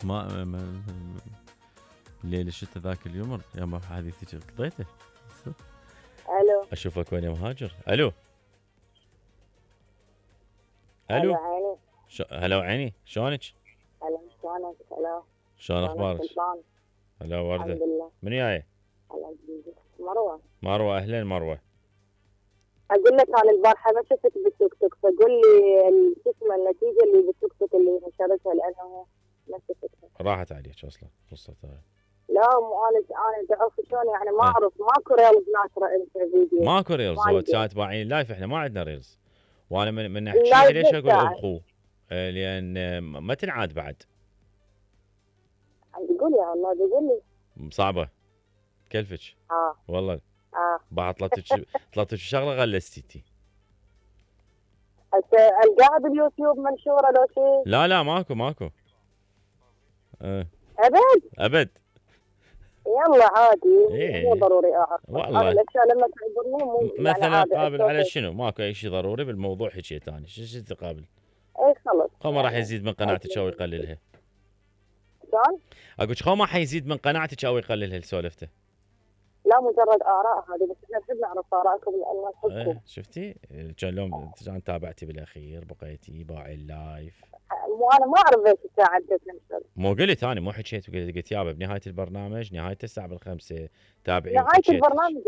ما الليل الشتاء ذاك اليوم يا ما حديثي قضيته. الو اشوفك وين يا مهاجر. الو الو عيني. هلا وعيني، شلونك؟ هلا شلونك؟ هلا شلون اخبارك؟ هلا وردة. الحمد لله. من جاي؟ هلا مروة. اهلين مروة. اقول لك انا البارحه ما شفتك بالتوك توك، فقول لي شو اسمه النتيجه اللي بالتوك توك اللي نشرتها لانه ما شفتها. راحت عليك اصلا قصتها. لا مو انا تعرف شلون يعني ما اعرف ماكو ريلز ناشره انت فيديو. ماكو ريلز، هو ساعات باعين لايف، احنا ما عندنا ريلز. وانا من احكي ليش اقول ابقوا؟ لان ما تنعاد بعد. تقول يا الله تقول لي صعبه كلفك. والله بعد طلبتك شغله غلستيتي. القاها باليوتيوب منشوره لو شيء؟ لا ماكو. ابد يلا عادي. إيه. مو ضروري اعرف والله الاشياء لما تعبرني مو مثلا يعني قابل على شنو؟ ماكو اي شيء ضروري بالموضوع. حكيت انا شو تقابل؟ اي خلص خو ما راح يزيد من قناعتك او يقللها. شلون؟ اقول خو ما حيزيد من قناعتك او يقللها سولفته. لا مجرد اراء هذه، بس احنا نحب نعرف ارائكم لان نحبكم. شفتي؟ كان لهم تابعتي بالاخير بقيتي باعي اللايف. انا ما اعرف ليش الساعه عدت نفسها. مو قلت انا، مو حكيت قلت يابا بنهايه البرنامج نهايه الساعه 5 تابعي. نهايه البرنامج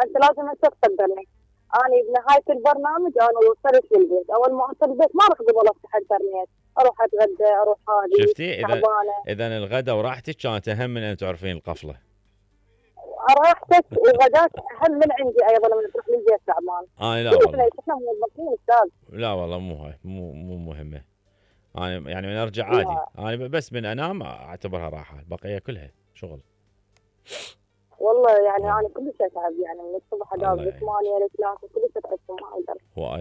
انت لازم انت تقدرني. انا بنهايه البرنامج انا وصلت للبيت، اول ما اوصل البيت ما راح اقدر افتح الانترنت، اروح اتغدى اروح هذه. شفتي؟ اذا الغداء وراحتك كانت اهم من ان تعرفين القفله. راحتك الغداء اهم من عندي ايضا لما تروح للبيت تعبان. لا والله احنا موظفين استاذ. لا والله مو هاي مو مهمه. انا يعني من ارجع عادي. انا بس من انام اعتبرها راحه، البقيه كلها شغل. والله يعني انا كل شيء اتعب يعني من الصبح اداوم من 8 ل 3 كل شيء اتعب ما اقدر.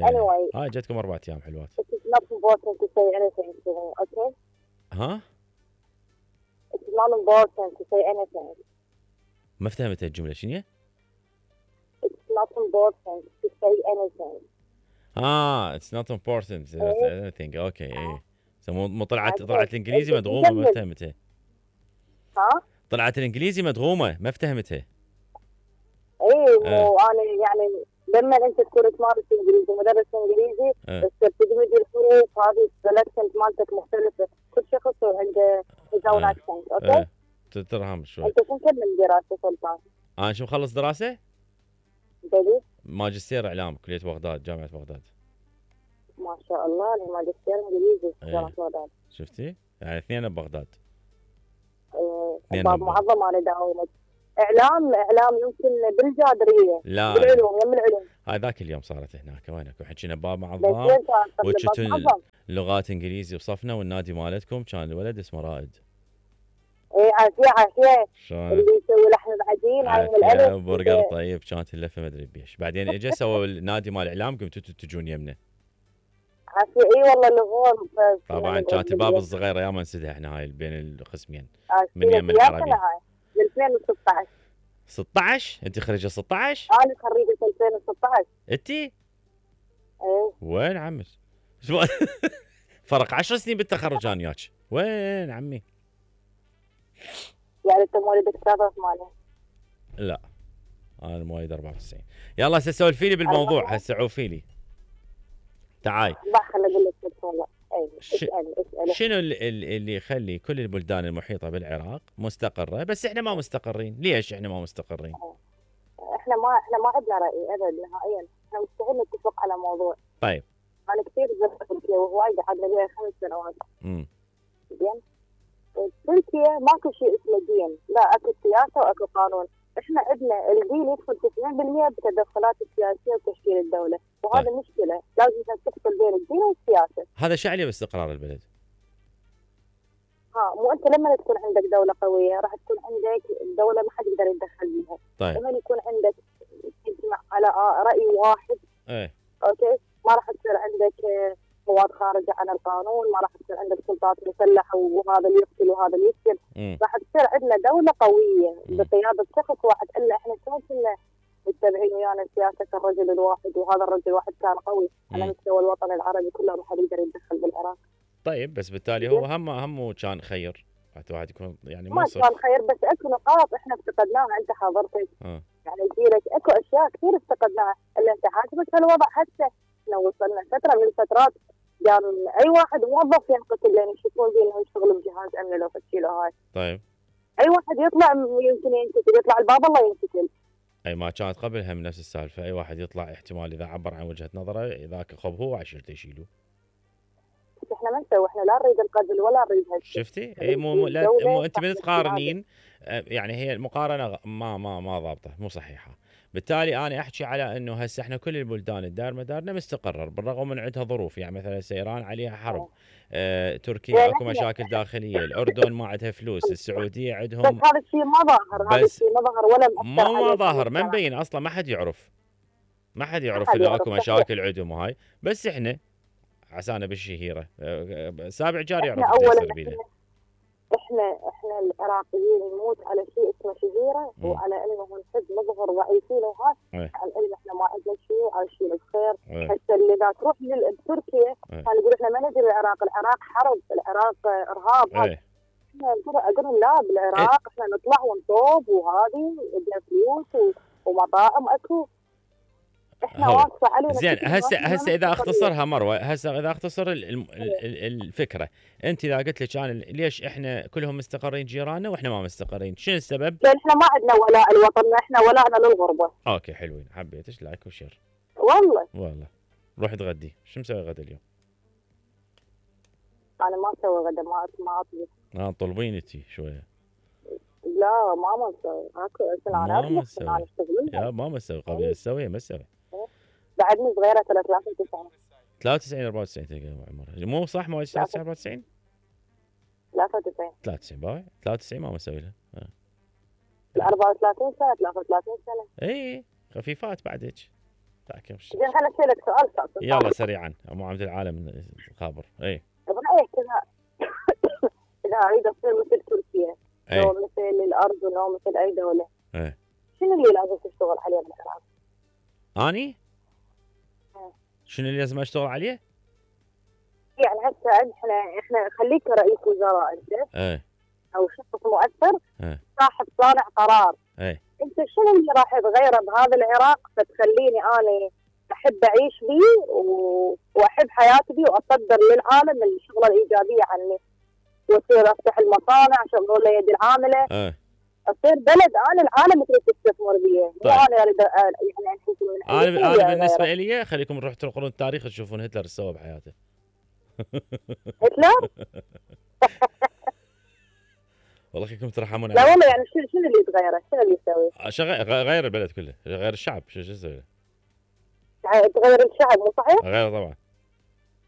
anyway هاي جتكم 4 ايام حلوات. It's not important to say anything to me, okay? ها؟ It's not important to say anything. ما فهمت الجملة شنو؟ It's not important to say anything. It's not important to say anything. اوكي ايه. مو طلعت الانجليزي مدغومة ما فهمتها. طلعت الانجليزي مدغومة ما فهمتها. ايه مو انا يعني لما انت تكون تمارس انجليزي مدرس انجليزي بس تدمج الحروف هذه الاكسنت مالتك مختلفة، كل شخص عنده his own accent، اوكي؟ تترهم شوي. انت شو مكمل دراسة سلطان؟ انا شو مخلص دراسة؟ جديد؟ ماجستير اعلام كلية بغداد، جامعة بغداد. ما شاء الله الماجستير انجليزي جامعة بغداد. شفتي؟ يعني اثنين ببغداد. باب معظم انا داومت. اعلام يمكن بالجادريه. لا بالعلوم يم العلوم. هاي ذاك اليوم صارت هناك وينك وحكينا باب معظم وكنتوا لغات انجليزي وصفنا والنادي مالتكم كان الولد اسمه رائد. ايه عافيه اللي يسوي لحم العجين هاي من الالف برجر طيب كانت اللفه ما ادري بيش. بعدين اجى سووا النادي مال الاعلام قمتوا تجون يمنا. عافيه اي والله اللغون. طبعا كانت الباب الصغيره يا ما نسدها احنا هاي بين القسمين من يم العربي. 2016. 16 انت خريجه 16؟ انا خريجه 2016. انت؟ ايه وين عمك؟ فرق 10 سنين بالتخرج انا وياك. وين عمي؟ يعني انت مواليد 93؟ لا انا مواليد 94. يلا هسه سولفي لي بالموضوع، هسه عوفي لي. تعاي خليني اقول لك والله. شنو اللي يخلي كل البلدان المحيطة بالعراق مستقرة بس احنا ما مستقرين؟ ليش احنا ما مستقرين؟ احنا ما عندنا رأي ابد نهائيا، احنا مستحيل نتفق على موضوع. طيب انا كثير زرت تركيا وهواي قعدنا بيها 5 سنوات. زين تركيا ماكو شيء اسمه دين، لا اكو سياسة واكو قانون. احنا عندنا الدين يدخل 90% بالتدخلات السياسية وتشكيل الدولة، وهذا مشكلة لازم تفصل بين الدين والسياسة. هذا شو عليه باستقرار البلد؟ مو انت لما تكون عندك دولة قوية راح تكون عندك دولة ما حد يقدر يتدخل بيها. طيب لما يكون عندك تجمع على رأي واحد اوكي ما راح تصير عندك مواد خارجة عن القانون، ما راح تصير عندك سلطات مسلحة وهذا اللي يقتل وهذا اللي يقتل. راح تصير عندنا دولة قوية بقيادة شخص واحد. الا احنا شلون كنا متبعين ويانا سياسة الرجل الواحد، وهذا الرجل الواحد كان قوي على مستوى الوطن العربي كله، ما حد يقدر يتدخل بالعراق. طيب بس بالتالي هو همه كان خير حتى واحد يكون يعني ما منصف. كان خير، بس اكو نقاط احنا افتقدناها، انت حضرتك. يعني جيلك اكو اشياء كثير افتقدناها، اللي انت عاجبك هالوضع. حتى لو وصلنا فتره من الفترات كان اي واحد موظف ينقتل لان يشوفون به انه يشتغل بجهاز امن لو فتشيله هاي. طيب اي واحد يطلع يمكن ينقتل، يطلع الباب الله ينقتل. اي ما كانت قبلها من نفس السالفه، اي واحد يطلع احتمال اذا عبر عن وجهه نظره ذاك خب هو وعشيرته يشيلوه. احنا ما نسوي، احنا لا نريد القتل ولا نريد هالشيء. شفتي؟ اي انت من تقارنين، يعني هي المقارنه ما ضابطه، مو صحيحه. بالتالي انا احكي على انه هسه احنا كل البلدان الدار مدارنا مستقره، بالرغم من عندها ظروف، يعني مثلا ايران عليها حرب، تركيا اكو مشاكل داخليه، الاردن ما عندها فلوس، السعوديه عندهم. بس هذا الشيء ما ظاهر، هذا الشيء ما ظهر ولا مؤثر عليه. ما ظاهر، ما مبين اصلا، ما حد يعرف انه اكو مشاكل عندهم وهاي. بس احنا عسانا بالشهيره، سابع جار يعرف يصير بينا. احنا العراقيين نموت على شيء اسمه شهيره، وعلى انه نحب نظهر ضعيفين وهاي، على ان احنا ما عندنا شيء، عايشين بخير. هسه اللي اذا تروح لتركيا كان يقول احنا ما ندري العراق حرب، العراق ارهاب. احنا اقول لهم لا، بالعراق احنا نطلع ونطوب وهذه عندنا فلوس ومطاعم اكو. احنا واقفه علينا. زين هسه اذا اختصرها مروه، هسه اذا اختصر الفكره، انت اذا قلت لك انا ليش احنا كلهم مستقرين جيراننا واحنا ما مستقرين، شنو السبب؟ لان احنا ما عندنا ولاء لوطننا، احنا ولاءنا للغربه. اوكي حلوين، حبيتش لايك وشير. والله روح تغدي، شو مسوي غدا اليوم؟ انا ما اسوي غدا، ما اطبخ. طلبين انتي شويه. لا ما اسوي، ما اسوي يا ما اسوي قبل اسوي ما اسوي. بعدني صغيره 93 94 تلقى عمرها مو صح؟ ما 94 93 باوع 93 ما مسوي لها. 34 سنه 33 سنه. اي خفيفات بعدك. زين خليني اسالك سؤال. يلا سريعا، ابو عبد العالم خابر. اي برايك اذا اريد اصير مثل تركيا او مثل الاردن او مثل اي دوله، شنو اللي لازم تشتغل عليه بالعراق؟ اني؟ شنو اللي لازم اشتغل عليه؟ يعني هسه احنا خليك رئيس وزراء انت، او شخص مؤثر، صاحب صانع قرار، انت شنو اللي راح تغيره بهذا العراق فتخليني انا احب اعيش بيه واحب حياتي بيه واصدر للعالم الشغله الايجابيه عني، واصير افتح المصانع، شغل لي يد العامله، اصير بلد انا العالم تريد تستثمر بيه. طيب. انا اريد يعني انا بالنسبه لي خليكم نروح تقرون التاريخ تشوفون هتلر ايش سوى بحياته. هتلر؟ والله خليكم ترحمون. لا والله يعني شنو اللي يتغيره؟ شنو اللي يسوي؟ غير البلد كله، غير الشعب، شو يسوي؟ تغير الشعب مو صحيح؟ غير طبعا.